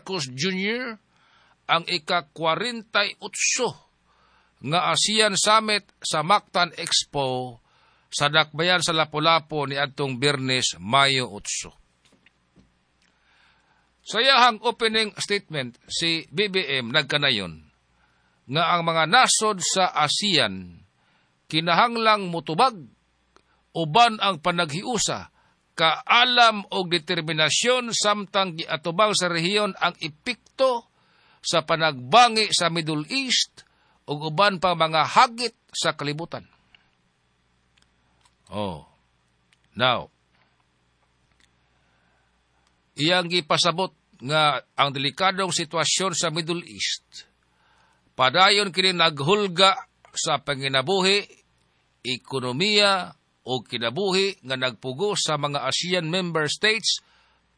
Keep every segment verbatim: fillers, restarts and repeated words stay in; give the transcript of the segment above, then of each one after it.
Marcos Junior ang ika-kwarenta y otso nga ASEAN Summit sa Mactan Expo sa dakbayan sa Lapu-Lapu ni adtong Biyernes, Mayo otso. Sa iyahang opening statement, si B B M nagkanayon nga ang mga nasod sa ASEAN kinahanglang mutubag uban ang panaghiusa, kaalam og determinasyon samtang giatubang sa rehiyon ang epekto sa panagbangi sa Middle East ug uban pa mga hagit sa kalibutan. Oh. Now, iyang gipasabot nga ang delikadong sitwasyon sa Middle East padayon kini naghulga sa panginabuhi, ekonomiya o kinabuhi nga nagpugos sa mga ASEAN member states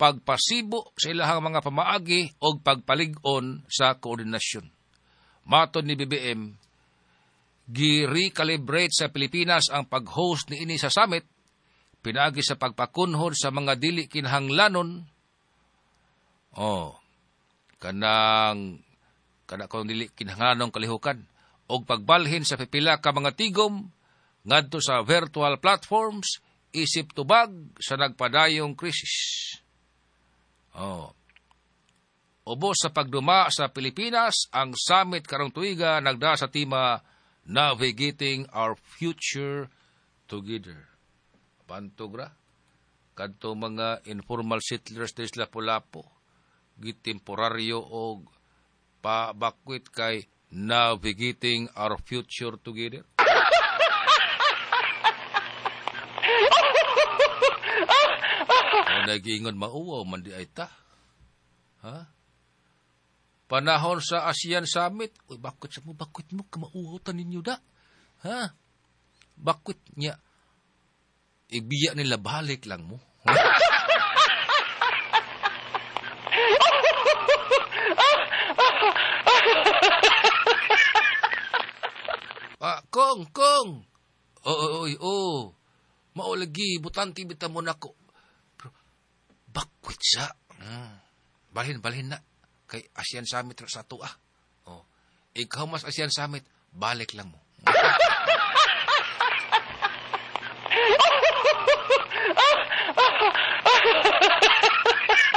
pagpasibo sa ilahang mga pamaagi o pagpalig-on sa koordinasyon. Matod ni B B M, gi-recalibrate sa Pilipinas ang pag-host ni ini sa summit pinaagi sa pagpakunhod sa mga dili kinahanglanon. Oh, kanang kana kung dili kinahanglanong kalihukan og pagbalhin sa pipila ka mga tigom ngadto sa virtual platforms isip tubag sa nagpadayong krisis. Oh. Ubos sa pagduma sa Pilipinas, ang summit karong tuiga nagda sa tema "Navigating Our Future Together." Pantog ra. Kadto mga informal settlers des Lapu-Lapu, gitemporaryo og pabakwit kay "Navigating Our Future Together." O nagiingon mauwaw man di ay ta. Ha? Panahon sa ASEAN Summit, uy, bakit sa mo, bakit mo, kamauwaw ta ninyo da? Ha? Bakit niya? Ibiya nila, balik lang mo. Ah, kong, kong! Oo, oo, oo. Maulagi, butanti bita mo nako. Pero, bakwit sa. Hmm. Balhin, balhin na. Kay ASEAN Summit sa ato ah. Oh. Ikaw mas ASEAN Summit, balik lang mo.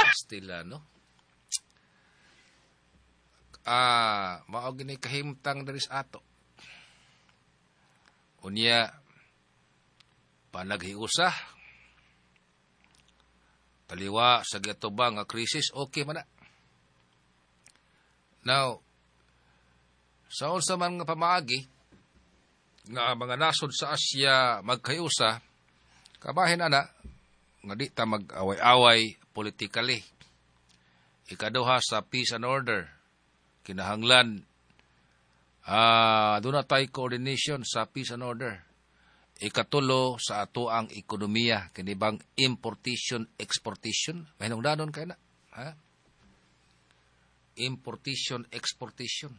Pastila, no? Ah, mao gini kahimtang diri sa ato. Unya, panaghiusa, taliwa sa giatubang nga krisis, okay man na. Now, sa unsa man nga pamaagi nga mga nasod sa Asya magkahiusa, kabahin ana nga di ta mag-away-away politically. Ikaduha, sa peace and order, kinahanglan ah uh, doon na tayo coordination sa peace and order. Ikatulo, sa ato ang ekonomiya, kini bang importation, exportation, mahinungdanon kay na. Ha? Importation, exportation.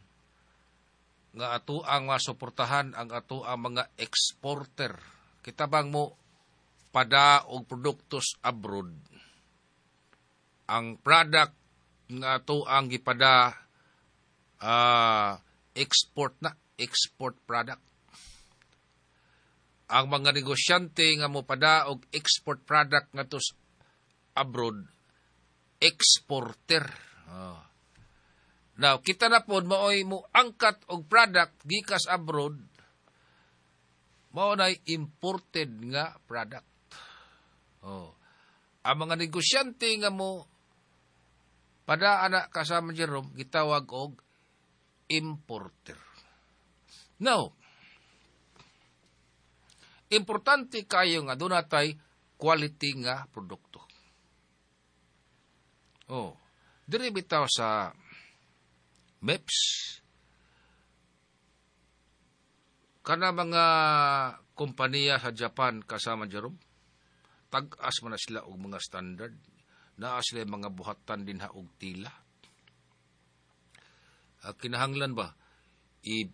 Nga ato ang masuportahan ang ato ang mga exporter. Kita bang mo pada og produktos abroad? Ang product nga ato ang gipada uh, export na, export product. Ang mga negosyante nga mopada og export product ngadto abroad, exporter. Oh. Now, kita na pod maoy mo angkat og product gikas abroad, mao nay imported nga product. Oh. Ang mga negosyante nga mo pada ana, kasama Jerome, gitawag og importer. Now, importante kayo nga doon natay quality nga produkto. Oh, diri bitaw sa M E P S kana mga kompanya sa Japan, kasama Jerome, tag-as man na sila og mga standard, naa sila mga buhatan din ha og tila. Uh, kinahanglan ba i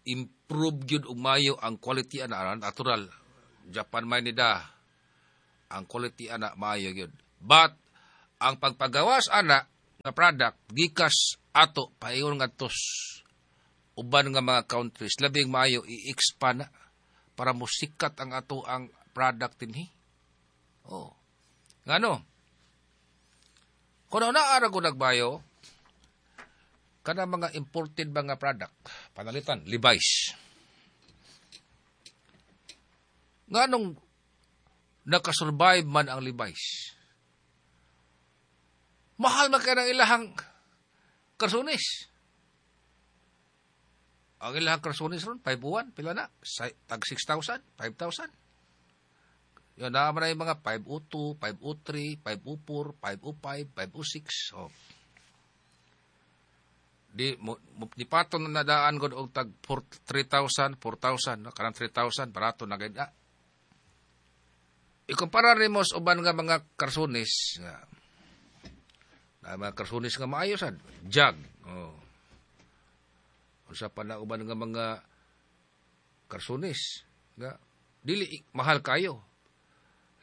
improve gyud og mayo ang quality ana? Natural, Japan may nida ang quality ana maayo gyud, but ang pagpagawas ana nga product gikas ato paingon ngadto uban nga mga countries, labing maayo i-expand na para mosikat ang ato ang product dinhi. Oh. Ngano? Kung naa ra ko nagbayo kana mga imported mga product, panalitan Levi's. Nganong nakasurvive man ang Levi's? Mahal man kay ang ilahang karsunis. Ang ilahang karsunis ron, five oh one, pila na? Tag six thousand, five thousand. Yun, naa man na yung mga five oh two, five oh three, five oh four, five oh five, five oh six. Oh. Di, mo, mo, di patong na nadaan god og tag four, three thousand, four thousand, no? Kanang three thousand, barato na gid. Ah. Ikumpara nimo sa uban nga mga karsunis, nga, na mga karsunis nga maayo sad, jag. Oh. Unsa pa na uban nga mga karsunis nga dili mahal kayo.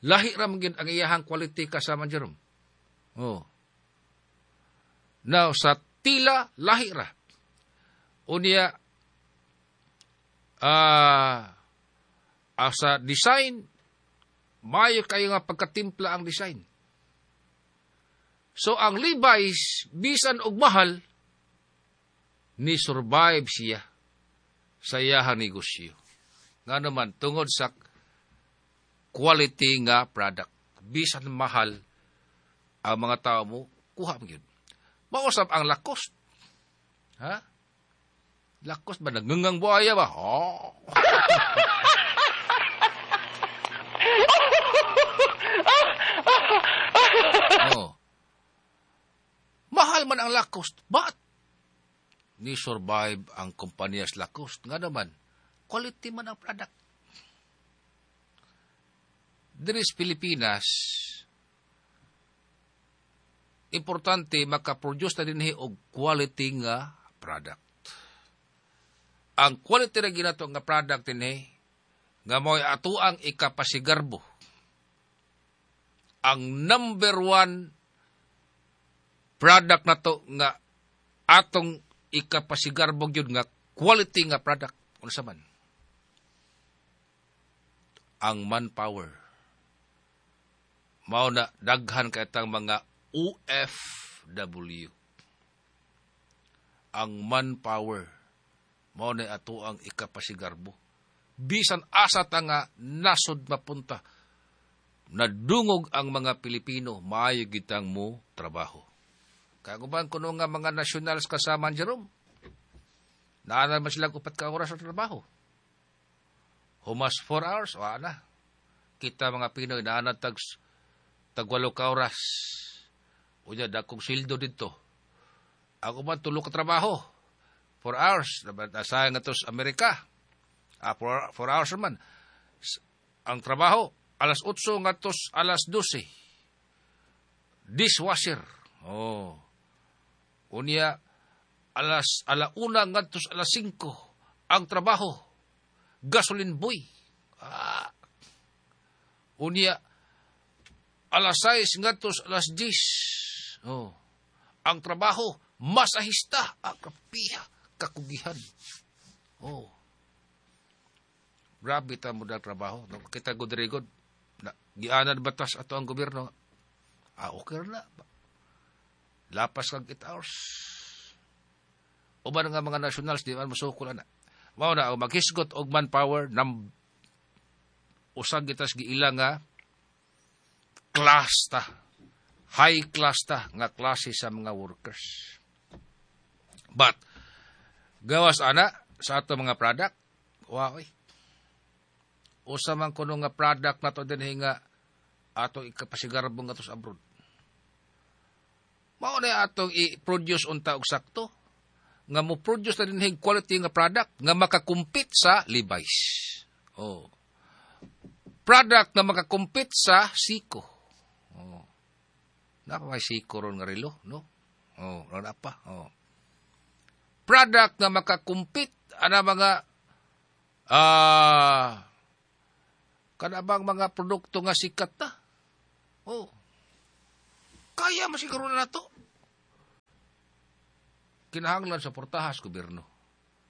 Lahi ra man gyud ang iyahang quality kasama Jerome. Oh. Now sa tila lahi ra. Unya ah uh, sa design maayo kayo nga pagkatimpla ang design. So ang Levi's bisan og mahal ni survive siya sa iyahang negosyo. Nga naman tungod sa quality nga product. Bisan mahal ang mga tao mo, kuha mo yun. Mausap ang Lacoste. Ha? Lacoste ba? Nagngangang buhaya ba? Oh. Oh. Mahal man ang Lacoste. But, ni survive ang kumpanya sa Lacoste. Nga naman, quality man ang product. Diri sa Pilipinas, importante makaproduce na dinhi og quality nga product. Ang quality na ginato nga product dinhi, nga mo'y atoang ikapasigarbo. Ang number one product na to nga atong ikapasigarbo gyud nga quality nga product. Unsa man? Ang manpower. Mao na daghan kay tang mga O F W. Ang manpower. Mao na ato ang ikapasigarbo. Bisan asa ta nga nasod mapunta, nadungog ang mga Pilipino, maayo gitang mo trabaho. Kaguban kuno nga mga nationals kasama Jerome, naa man sila upat ka oras sa trabaho. Humas four hours, wa na. Kita mga Pinoy naa na tag tagwalo ka oras. Unya dakong sildo didto. Ako man tulo ka trabaho. Four hours. Nasayang nga to sa Amerika. Ah, four, four hours naman. Ang trabaho, alas otso ngadto alas dose. Dishwasher. Oh. Unya, alas alauna ngadto alas singko. Ang trabaho, gasoline boy. Ah. Unya, alas sais ngadto alas diyes. Oh. Ang trabaho, masahista. Ah, kapiha, kakugihan. Oh. Grabe ta mo na trabaho. No, kita gud-rigod. Gianad batas ato ang gobyerno. Ah, okay na. Lapas kag eight hours. Uban nga mga nationals, di man musukol ana. Mao na, maghisgot og manpower, nam usag gitas giila nga class ta. High class ta nga klase sa mga workers. But, gawas ana sa ato mga product, wow, eh. Usa man kuno nga product na to dinhi nga atong ikapasigarbo nga to sa abroad. Mao na atong i-produce unta og sakto nga mo produce na dinhi quality nga product nga makakumpit sa Levi's. Oh. Product na makakumpit sa Seiko. Oh. Napa may Seiko ron nga relo, no? Oh, wala pa. Oh. Product na makakumpit ana mga ah uh, kanabang mga produkto nga sikat na. Oh. Kaya masiguro na nato. Kinahanglan suportahan sa gobyerno.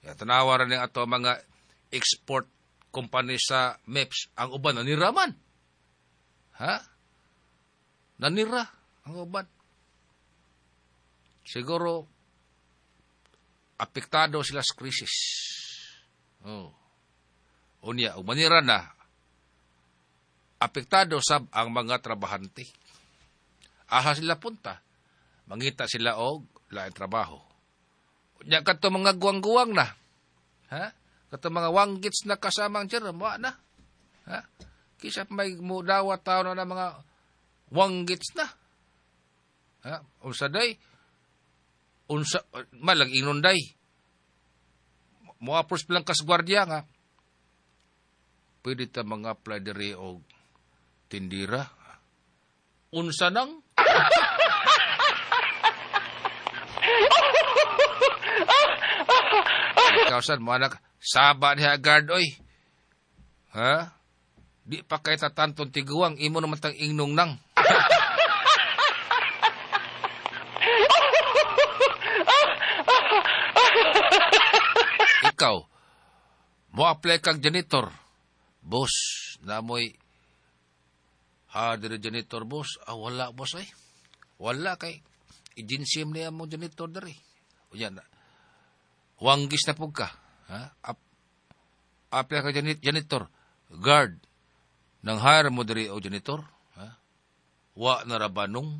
Ya, tanawa ra ni ato mga export company sa M E P S, ang uban nanira man. Ha? Nanira ang uban. Siguro apektado sila sa krisis. Oh. Unya, ug manira na, apektado sab ang mga trabahante. Asa sila punta? Mangita sila og laing trabaho. Unya, kadto mga guwang-guwang na. Ha? Kadto mga wanggits na kasamang Jerome, wa na. Ha? Kisa may mudawat tao na, na mga wanggits na. Ha? Unsa day? Unsa malag ingnon day? Mo approach lang kas gwardiya nga pwede ta mga apply diri og tindira. Unsa nang? Ikaw sad mo anak, saba niya guard oy. Ha? Di pa kay tatanton tiguang imo naman tang ingnong nang. Ikaw, mo apply kag janitor. Boss, namoy ha dire janitor boss. Ah, wala boss ay. Wala kay agency niya mo janitor diri. Unya na. Wanggis na pug ka. Ha? Ap apply ka janitor. Guard. Nang hire mo diri o janitor? Ha? Wa na ra ba nung?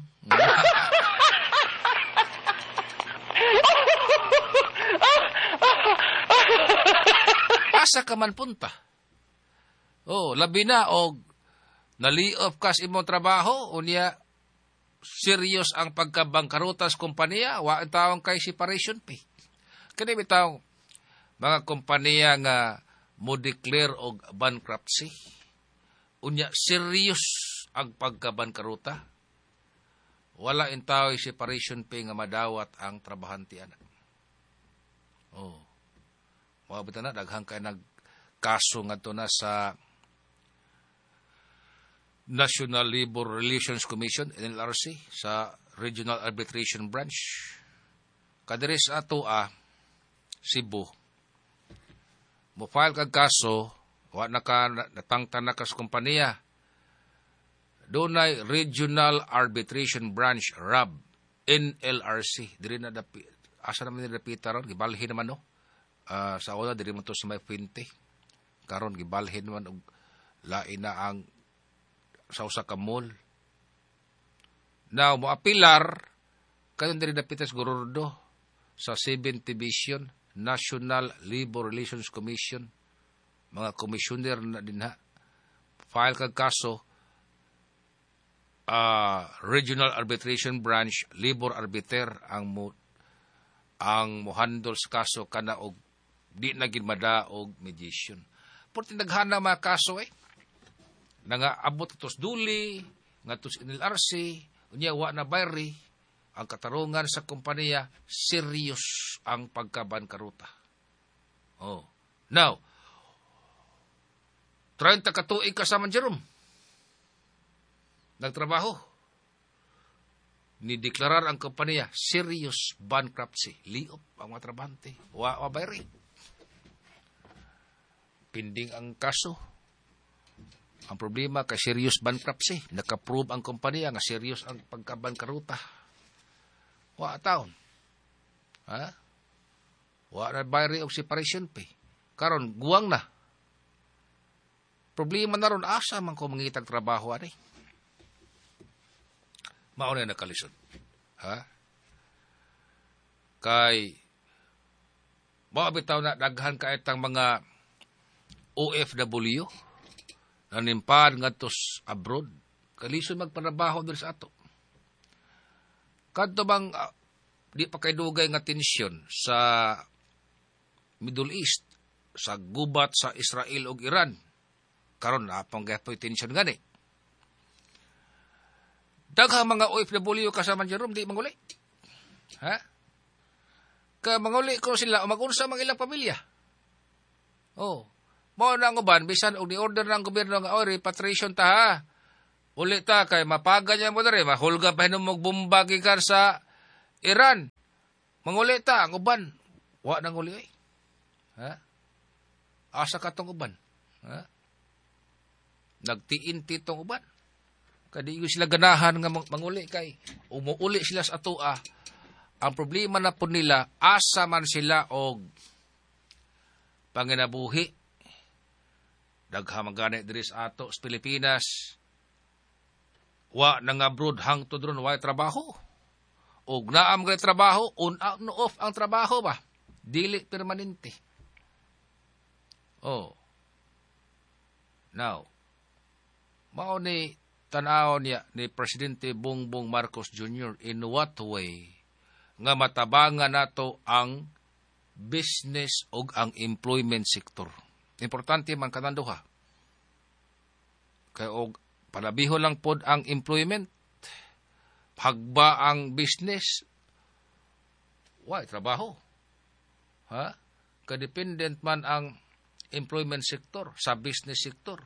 Asa ka man punta? Oh, labi na og nali-off ka sa imong trabaho, unya serious ang pagkabangkarutas kompanya, wa taong kay separation pay. Kani bitaw mga kompanya nga mo declare og bankruptcy. Unya serious ang pagkabangkaruta. Wala intaw separation pay nga madawat ang trabahante ana. Oh. Wa bitaw na daghan kay nagkaso ngadto na sa National Labor Relations Commission, N L R C, sa Regional Arbitration Branch. Kadiri sa ato ah, Cebu. Mo-file kag kaso, wa na ka, natangtan na ka sa kompanya. Dunay Regional Arbitration Branch, R A B, N L R C. Diri na dapi, asa naman ni dapita ron, gibalhin naman no. Uh, sa una, diri mo to sa may Fuente. Karon gibalhin naman og lain na ang sa usa ka mall. Now, moapilar kayon diri dapita sa Gorordo sa seventh Division, National Labor Relations Commission. Mga commissioner na dinha. File kag kaso, uh, Regional Arbitration Branch, Labor Arbiter ang mo ang mohandle sa kaso kana og di na gid madaog mediation. Porte naghana mga kaso eh. Nangaabot atos duli, ngatos N L R C, unya wa na bayri, ang katarungan sa kompanya, serious ang pagkabankaruta. Oh. Now, trenta ka tuig ka sa Jerome. Nagtrabaho. Nideklarar ang kompanya, serious bankruptcy. Liop ang mga trabahante. Wa wa bayri. Pinding ang kaso. Ang problema kay serious bankruptcy. Nakaprove ang kompanya nga serious ang pagkabankaruta. Wa taon. Ha? Wa na bayri og separation pay. Karon guwang na. Problema na ron asa man ko mangitag trabaho ani. Mao na nakalisod. Ha? Kay mao bitaw na daghan ka itang mga O F W nanimpad ngadto abroad. Kalisod magpanrabaho diri sa ato. Kadto bang uh, di pa kay dugay nga tensyon sa Middle East, sa gubat sa Israel ug Iran. Karon napong gapoy tensyon gani. Daghang mga O F W kasama Jerome di manguli. Ha? Ka manguli ko sila o magunsa mang ilang pamilya. Oh. Mao na ang uban bisan og ni-order ng gobyerno nga oh, repatriation ta ha. Uli ta kay mapaga niya mo diri, mahulga pa hinom og bomba gikan sa Iran. Manguli ta ang uban. Wa nang uli ay. Ha? Asa ka tong uban? Ha? Nagtiinti tong uban. Kadi sila ganahan nga manguli kay umuuli sila sa atoa. Ang problema na po nila, asa man sila og panginabuhi. Daghan man gani diri sa ato sa Pilipinas. Wa nang abroad hangtod ron way trabaho. Og naam gani trabaho, on out no off ang trabaho ba? Dili permanente. Oh. Now, mao ni tan-aw niya ni Presidente Bongbong Marcos Junior in what way nga matabangan nato ang business ug ang employment sector. Importante man kanang duha. Kay og palabiho lang pod ang employment, hagba ang business, way trabaho. Ha? Kadependent man ang employment sector sa business sector.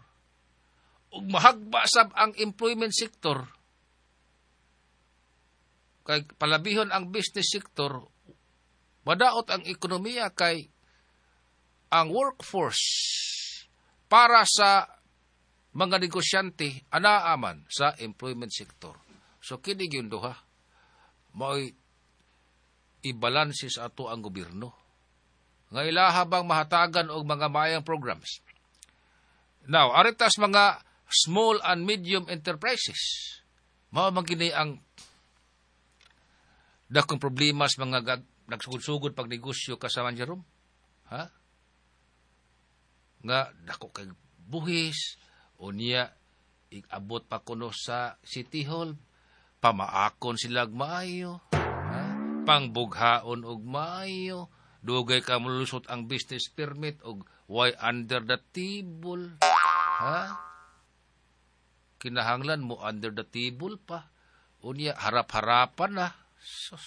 Ug mahagba sab ang employment sector, kay palabihon ang business sector, madaot ang ekonomiya kay ang workforce para sa mga negosyante anaa man sa employment sector. So kini gyud duha mao'y ibalanse sa ato ang gobyerno nga ilaha bang mahatagan og mga maayong programs. Now, aritas mga small and medium enterprises. Mao man kini ang dakong problema sa mga gag- nagsugod-sugod pag negosyo kasama Jerome. Ha? Nga dako kay buhis unya igabot pa kuno sa City Hall, pamaakon sila og maayo, ha? Pangbughaon og maayo, dugay ka molusot ang business permit og way under the table, ha? Kinahanglan mo under the table pa. Unya harap-harapan na. Sus.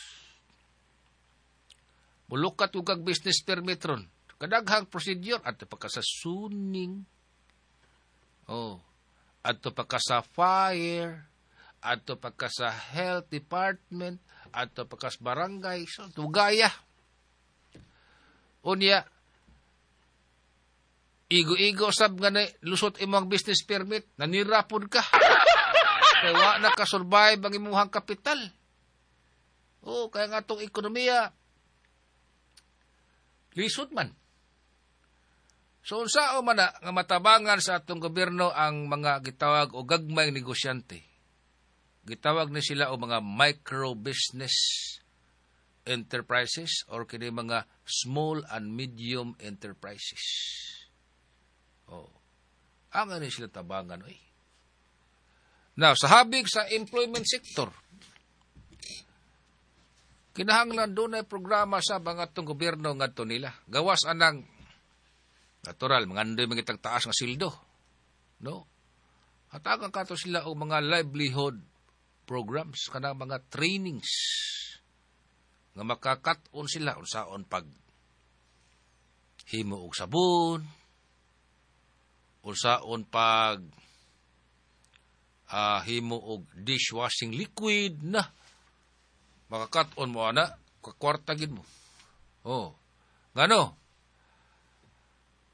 Mulukat ug kag business permit ron. Kadaghang procedure adto pa ka sa zoning. Oh. Adto pa ka sa fire, adto pa ka sa health department, adto pa ka sa barangay. So, tugaya. Unya, igo-igo sab nga na lusot imong business permit, nanirapod ka. Kay wa na ka-survive ang imong kapital. Oh, kaya nga itong ekonomiya, lisod man. So, unsao man na nga matabangan sa atong gobyerno ang mga gitawag o gagmayng negosyante. Gitawag ni sila o mga micro business enterprises or kini mga small and medium enterprises. Oh. Ang ano sila tabangan oy. Now, sa habig sa employment sector, kinahanglan dunay programa sa mga atong gobyerno ngadto nila. Gawas anang natural, mga andoy mga taas nga sildo. No? Hatagan kato sila og mga livelihood programs, kanang mga trainings nga makakat-on sila unsaon pag himo og sabon, unsaon pag uh, himo og dishwashing liquid na makakat-on mo ana, kakwarta gid mo. Oh. Ngano?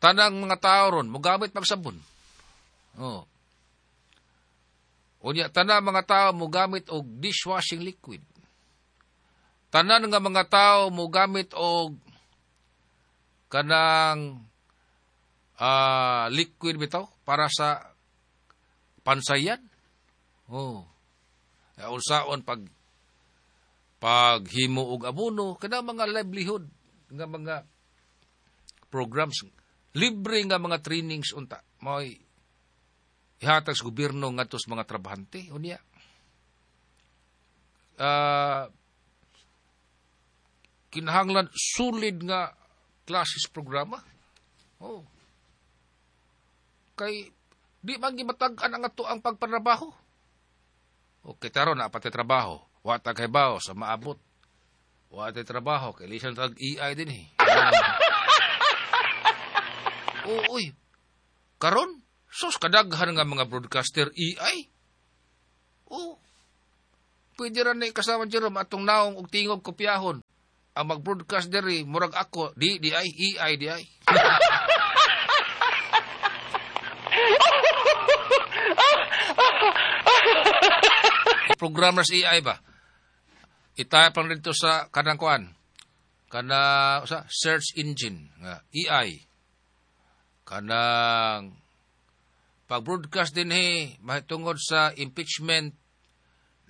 Tanang mga tao ron mogamit pag sabon. Oh. Unya tanang mga tao mogamit og dishwashing liquid. Tanan nga mga tao mogamit og kanang uh, liquid bitaw para sa pansayan. Oh. Unsaon pag paghimo og abono kana mga livelihood nga mga programs, libre nga mga trainings unta mao'y ihatag sa gobyerno ngadto sa mga trabahante. Unya uh, kinahanglan solid nga classes programa. Oh. Kay di man gimatag-an ang ato ang pagpanrabaho. Okay, taron na pati trabaho. Wa ta kay bao sa maabot. Wa tay trabaho kay lisan tag A I din eh. Oh, uy. Karon sus kadaghan nga mga broadcaster A I. Oh. Pwede ra ni kasama Jerome atong naong og tingog kopyahon. Ang mag-broadcast diri murag ako, di di ay A I di ay. Programmers A I ba? I-type lang dito sa kanang kuan. Kana sa search engine nga A I. Kanang pag-broadcast dinhi mahitungod sa impeachment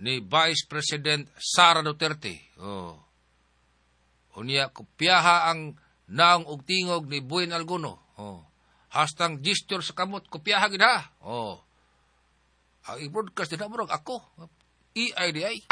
ni Vice President Sara Duterte. Oh. Unya kopyaha ang naong og tingog ni Buin Alguno. Oh. Hastang gesture sa kamot kopyaha gid ha. Oh. Ang i-broadcast din murag ako. A I di ay.